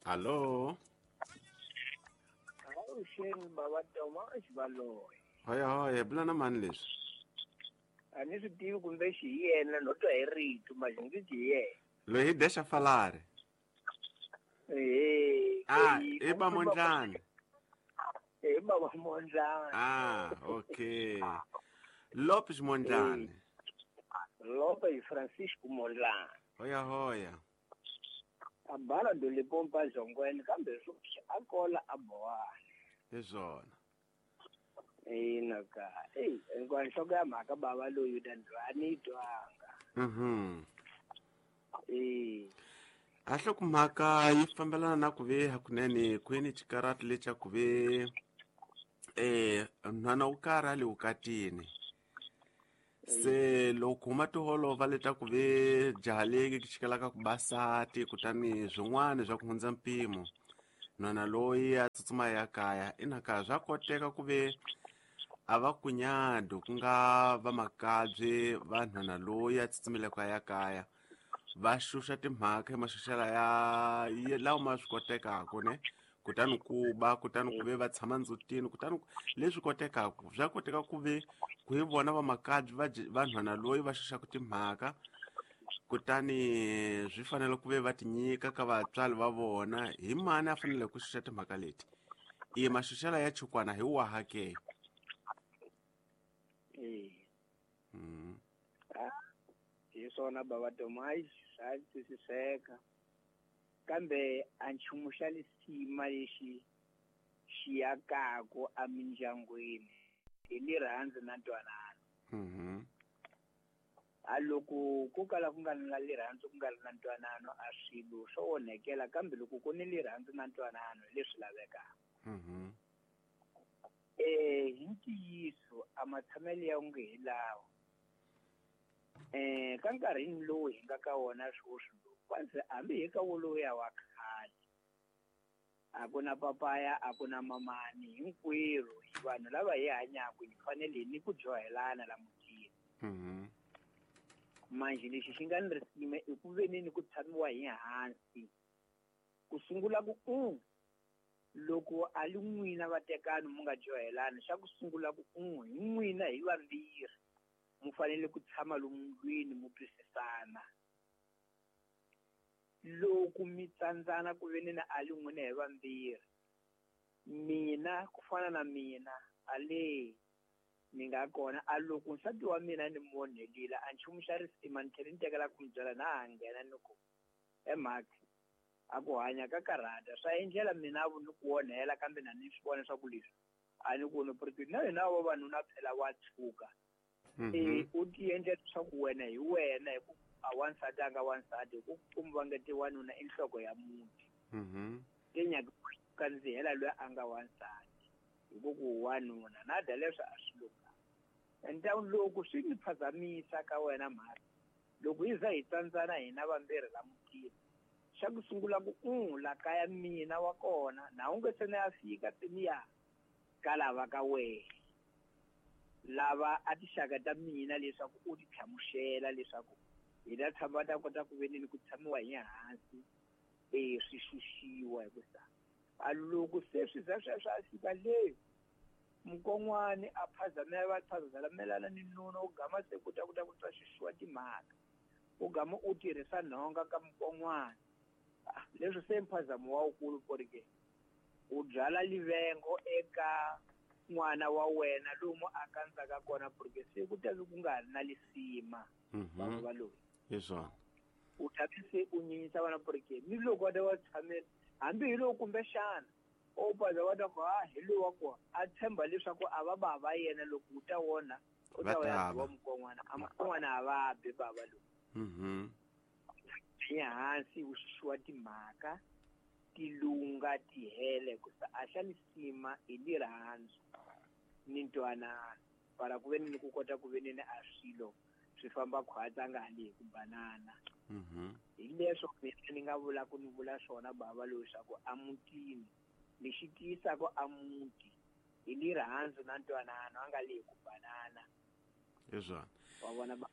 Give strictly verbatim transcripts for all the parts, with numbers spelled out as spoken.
Allo. Avuxeni baba Toma Xivaloyi. Hoya hoya bula na mani leswi? A ni swi tivi kumbe xi hi yena no twa hi rito manje ndzi hi yena. Loyi hi dexa falari. Eh. Ah, i ba Mondlani. Eh, baba Mondlani. Ah, okay. Lopes Mondlani. Lopes Francisco Mondlani. Hoya hoya. A bala do Limpopo zongweni kambe sweswi a kola a bowana. Hi swona. Ina ka. Ey, hinkwayo nhloko ya mhaka baba loyi ta a ni twanga. Mhm. Eh. A nhloko mhaka yi fambelana na ku ve hakunene kwini xikarati lexa ku ve eh nhwana wo karhi a le vukatini. Se loko huma tiholova leta ku ve jaha leki xikalaka ku basati kutani swin'wana swa ku hundza mpimo nhwana loyi a tsutsuma ya kaya ina ka swa koteka ku ve a va kunyado ku nga va makabye va nhwana loyi a tsutsumelaka ya kaya va xuxa timhaka emaxuxela ya lawa ma swi kotekaka ne kutani ku ba kutani ku ve va tshama ndzutini kutani leswi kotekaka swa koteka ku ve ku hi vona va makabye va va nhwana loyi va xuxaka timhaka kutani swi fanele ku ve va tinyika ka vatswari va vona hi mani a fanele ku xuxa timhaka leti i maxuxela ya chukwana hi waha ke. Eh. Mm. Hi swona baba Tomai swa twisiseka kambe a nchumu xa lisima lexi xi akaka emindyangwini hi lirhandzu na ntwanano. Mhm. A loko ku kala ku nga ri na lirhandzu ku nga ri na ntwanano a swilo swo onhekela kambe loko ku ni lirhandzu na ntwanano hi leswi lavekaka. Mhm. Eh hi ntiyiso a matshamelo ya onge hi lawa. Eh ka nkarhini lowu hi nga ka wona sweswi lowu kwanza hambi hi ka wolowo wa khale a ku na papaya a ku na mamani hinkwerhu hi vanhu lava hi hanyaka hi fanele ni ku dyohelana la mutini. Mhm. Manje lexi xi nga ni risima i ku ve ni ku tshamiwa hi hansi ku sungula ku u loko a li n'wina vatekani mu nga dyohelani xa ku sungula ku u hi n'wina hi vambirhi mu fanele ku tshama lomu ndlwini mu twisisana. Loko mi tsandzana ku ve ni na a li n'wina hi vambirhi mina ku fana na mina a le ni nga kona a loko nsati wa mina ni mu onhelile a nchumu xa risima ni tlhela ni tekela ku mi byela na ha nghena ni ku he mhaka a ku hanya ka karhata swa endlela mina ni ku onhela kambe na ni swi vona swa ku leswi a ni ku ni na hina vavanuna phela wa tshuka. Eh u ti endla leswaku wena hi wena hi ku a wansati a nga wansati hi ku kumba nga ti wanuna i nhloko ya muti. Mhm. Te nyaka kandzihela loyi a nga wansati hi ku ku wanuna na da leswi a swi lunga. Enta loko swi ni phazamisa ka wena mhaka loko hi za hi tsandzana hina vambirhi la mutini xa ku sungula ku u la kaya mina wa kona na u nge se na ya fika tiniya ka lava ka wena lava a tixaka ta mina leswaku u ti hlamusela leswaku hi ta tshama ta kota ku ve ni ku tshamiwa hi hansi eh swi xuxiwa hi ku sa a loko se swi za sweswo a fika le mukon'wani a phazamela va phazamelana ni nuna u gama se ku ta ku ta ku ta xuxiwa timhaka u gama u tirhisa nhonga ka mukon'wani leswi se mphazamo wa wukulu porike u byala livengo eka n'wana wa wena lomu a kandzaka kona porque se ku ta ku nga ri na lisima vanhu va loyi. Hi swona. U ta se u nyinyisa vana porque ni loko va ta va tshamela hambi hi loko kumbexana o paza va ta ku ha hi lowu wa kona a tshemba leswaku a va bava yena loko u ta wona u ta ya wa mukon'wana a mukon'wana a va bi bava lowu. Mhm. Hi hansi u xuxiwa timhaka tilunga tihele ku sa a xa lisima hi lirhandzu ni ntwanano para ku ve ni ku kota ku ve ni a swilo swi famba khwatsa nga hali hi ku banana. Mhm. Hi leswo mina ni nga vula ku ni vula swona bava loyi swa ku a mutini lexi tiyisaka a muti hi lirhandzu na ntwanano a nga le hi ku banana. Hi swona. Wa vona ba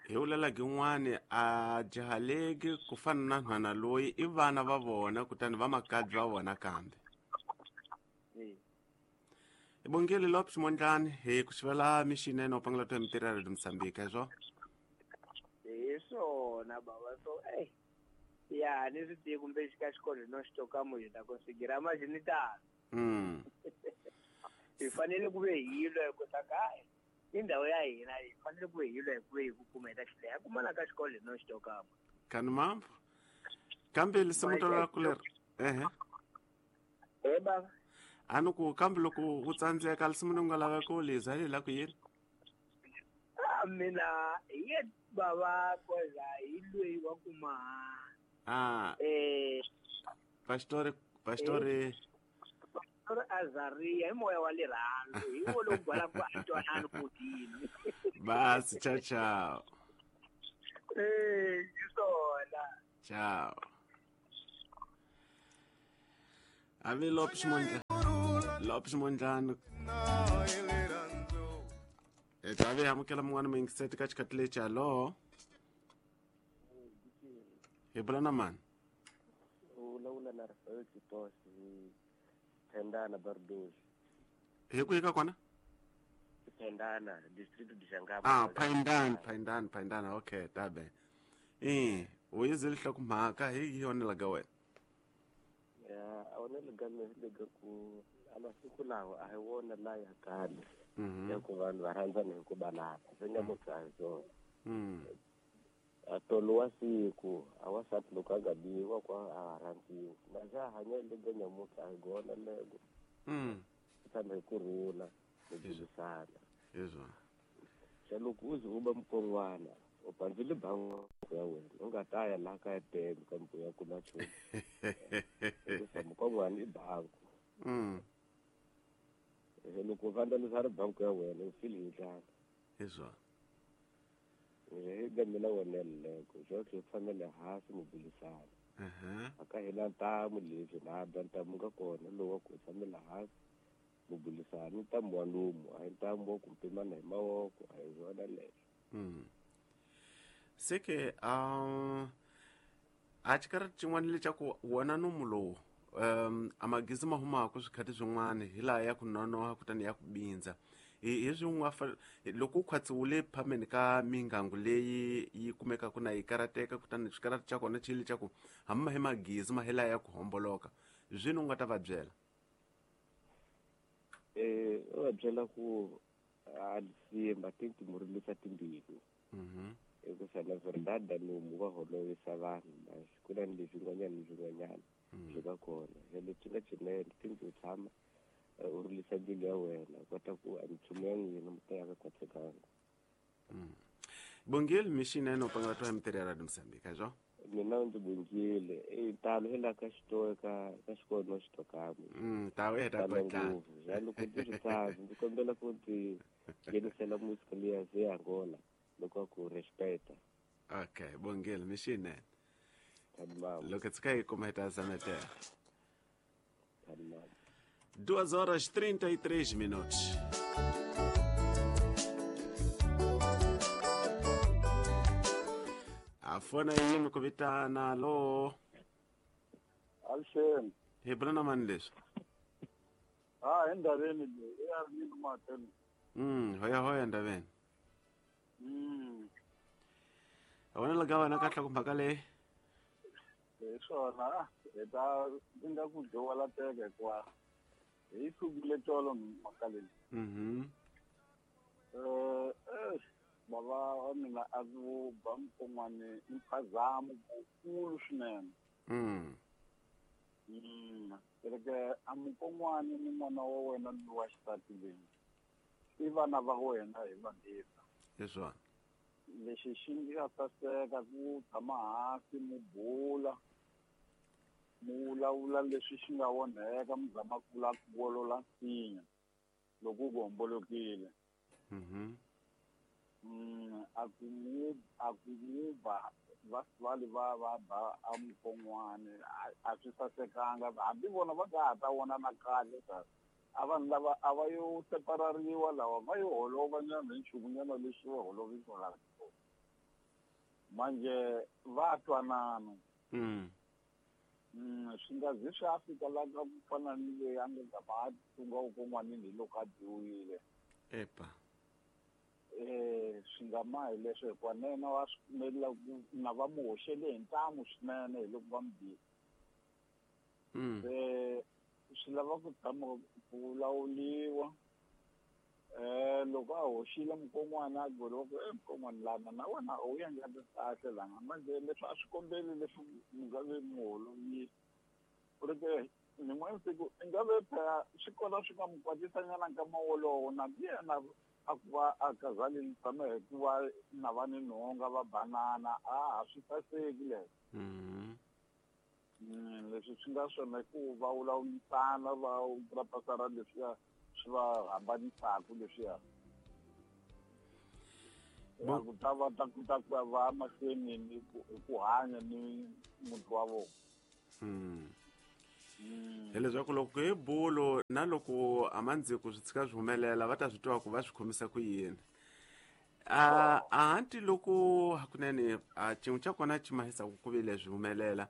Hi vulela gin'wani a jahaleki ku fana na nhwana loyi i vana va vona kutani va makabyi va vona kambe. Eh. Ibongile Lopes Mondlane hi ku xivela mixinene u pangela to mitirho ya Radio Mozambique swo. Hi swona baba so eh ya ni swi tivi kumbe xika xikolo no xi toka mu hi ta konsigira ma ni tano. Mm. Hi fanele ku ve hi lwa hi ku saka i ndhawu ya hina hi fanele ku ve hi lwa hi ku ve hi ku kuma hi ta xileha kumana ka xikolo no xi toka mu. Kani mambo. Kambe lisimu to ra ku leri. Ehe. Eh baba. Anu ku kambe loko u tsandzeka lisimu ni nga laveka u liza hi la ku yini? Ah mina hi baba koza hi loyi wa kuma. Ah. Eh Pastor Pastor Pastor Azaria hi moya wa lerhandzu hi wo lowu gwala ku a twanani ku dini. Basi ciao ciao. Eh hi swona. Ciao. Ave Lopes Mondlane. Lopes Mondlane. E tave amukela mun'wana muyingiseti ka xikhathi lexi hallo. Hi bula na mani? U vulavula na Rafael Titos hi Tendana Bardoso. Hi kwihi ka kona? Tendana, distrito de Jangaba. Ah, Paindani, Paindani, Paindani. Okay, tabe. Eh, u yizile nhlokomhaka hi yona la ka wena. Ya, a wona le ka le ka ku a masiku lawa a hi wona la ya khale. Mhm. Ya ku vanhu va rhandzana hi ku balana. Swi nga muthu a hi swona. Mm. A tolo wa siku a wasati loko a nga biwa kwa a rhandziwa. Na xa hanya le ka nyamutlha a hi gona lego. Mm. Tshama hi kurhula hi burisana. Izwa. Xa loko u ze u ba mukon'wana u pandzile bango ya wena u nga ta ya laha ka ya tele kambe u ya kuma nchumu. Hikuva mukon'wana i bango. Mm. Se loko u vandlalisa ri bango ya wena u fili hi ndlala. Izwa. Hi ga mina wena leko swo hi tshamela hansi mu burisana. Mhm. A ka hina ntamu leswi na ba ntamu ka kona lowu wa ku tshamela hansi mu burisana ntamu wa lomu a hi ntamu wa ku pimana hi mavoko a hi swona leswo. Mm. Seke um a xikarhi xin'wana lexaku wona nomu lowu um a magezi ma humaka swikhathi swin'wana hi laha ya ku nonoha kutani ya ku bindza. Hi hi swin'wana loko u khwatsiwile phameni ka mingangu leyi yi kumekaka na yi karateka kutani xikarati xa kona xi le xa ku hambi ma hi magezi ma hi laha ya ku homboloka zwini u nga ta va byela? Eh u va byela ku a simba tinti murilisa timbilu. Mhm. Hikuva na verdade nomu va holovisa vanhu mas ku na ni leswin'wanyana ni swin'wanyana swi nga kona. Se leswi nga swinene tinti u tshama u rilisa mbilu ya wena u kota ku a minchumu ya n'wina mi ta ya ka khwatsekanga. Bongile mixinene u pangela twa mitirho ya Radio Mozambique swo? Mina ndzi bongile e talo hi la ka xitoka ka ka xikolo no xitokamwe. Mm ta we ta kotla. Ja loko ndzi swi tsaka ndzi kombela ku ndzi nghenisela musika liya ze Angola loko ku respecta. Okay, bongile mixinene. Tadimama. Loko tsika hi kuma hi ta zametela. Tadimama. Duas horas trinta e três minutos. A fona yini ku vitana lo? Alshem. Hi bula na mani leswi? Ah, endabeni leyi ya ri ni mateni. Mm, hoya hoya ndabeni. Mm. A wena la ga wena ka nhlokomhaka leyi? Hi swona, hi ta nga ku dyowa la teka hikuva hi sukile tolo mhaka leyi. Mhm. Eh, eh bava wa mina a ku ba mukon'wana i mphazamo wukulu swinene. Mm. Mm. Kereke a mukon'wana ni n'wana wa wena ni wa xisati leyi i vana va wena hi vambirhi. Hi swona. Lexi xi nga saseka ku tshama hansi mu bula mu vulavula leswi xi nga onheka mi zama ku vula ku wolola nsinya loko ku hombolokile. Mhm. Mm, a ku mu a ku mu ba va vali va va ba a mukon'wana a swi sasekanga hambi vona va nga ha ta vona na kahle ta. A vanhu lava a va yo separariwa lava va yo holova nyana hi nchumu nyana lexi va holovisaka manje va twanana. Mm. Mm, swi nga zi swi a fika la ka ku fana ni leyi a nga zama a tunga ukon'wanini hi loko a dyiwile. Epa. Eh, swi nga ma hi leswo hikuva na yena wa swi pfumelela ku na va mu hoxele hi ntamu swinene hi loko va mu bile. Mm. Se swi lava ku tshama ku vulavuriwa. Eh, loko a hoxile mukon'wana a goliwa ku e mukon'wana lana na wena a wu endlanga kahle lana manje leswi a swi kombeli leswi mi nga ve mi holovile ku ri ke nin'wana siku i nga ve phela swi kona swi nga mu kwatisanyana nkama wolowo na yena a ku va a kazalini tshama hi ku va na va ni nhonga va banana a ha swi saseki leswo. Mm. Mm, leswi swi nga swona i ku va vulavurisana va purapasara leswiya swi va hambanisaka leswiya Bo- ku ta va ta kota ku ya va mahlweni ni ku hi ku hanya ni muti wa vona. Mm. Mm. Hileswaku loko hi bulo na loko amandziko swi tshika swi humelela va ta swi tiva ku va swi khomisa ku yini. A ahanti loko hakunene a xin'we xa kona xi mahisaku ku vile swi humelela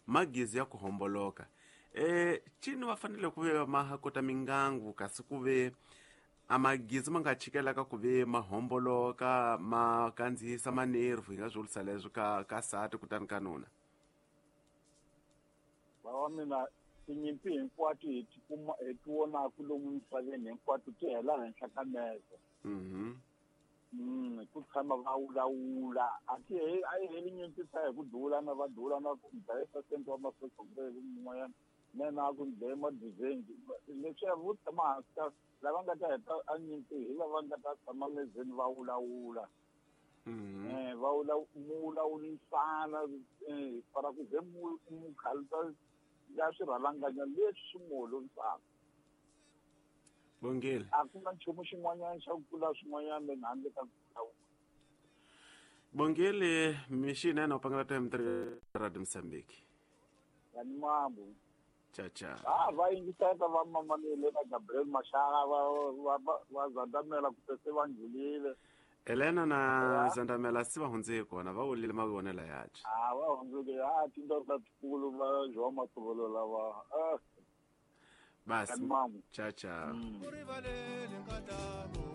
magizi ya ku homboloka eh cini va fanele ku ve ma ha kota mingangu kasi ku ve a magizi ma nga chikelaka ku ve ma homboloka ma kandziyisa manervu hi nga swi vurisa leswo ka ka sati kutani ka nuna. Va wa mina tinyimpi hinkwato hi ti kuma hi ti vonaku lomu misaveni hinkwato ti hela henhla ka meze. Mhm. Mm, ku tshama va vulavula a ti he a yi heli nyimpi ta hi ku dulana va dulana ku dlaya sasente wa masosokureke mun'wanyana na yena a ku dlaye madizengi leswiya vo tshama hansi ka lava nga ta heta a nyimpi hi lava nga ta tshama mezeni va vulavula. Mhm. Eh, va vula mu vulavurisana eh, para ku ze mu mu khalisa ya swirhalanganya leswi swi mu holovisaka. Bongile. A ku na nchumu xin'wanyana xa ku tlula swin'wanyana leni handle ka ku vulavula. Bongile mixinene u pangela time three Radio Mozambique. Ya ni mambo. Cha cha. Ah, va yingiseta va mamanile na Gabriel Mashara va va va va zandamela ku se va ndlulile. Elena na Ya. Zandamela si va hundze hi kona va wulile mavonelo yace. Ah, va hundzuke ah tindhawu ta tikulu va João Matovelo lava. Ah, Basi. ya ni mambo. Cha cha. Mm. U rivalele nkatako.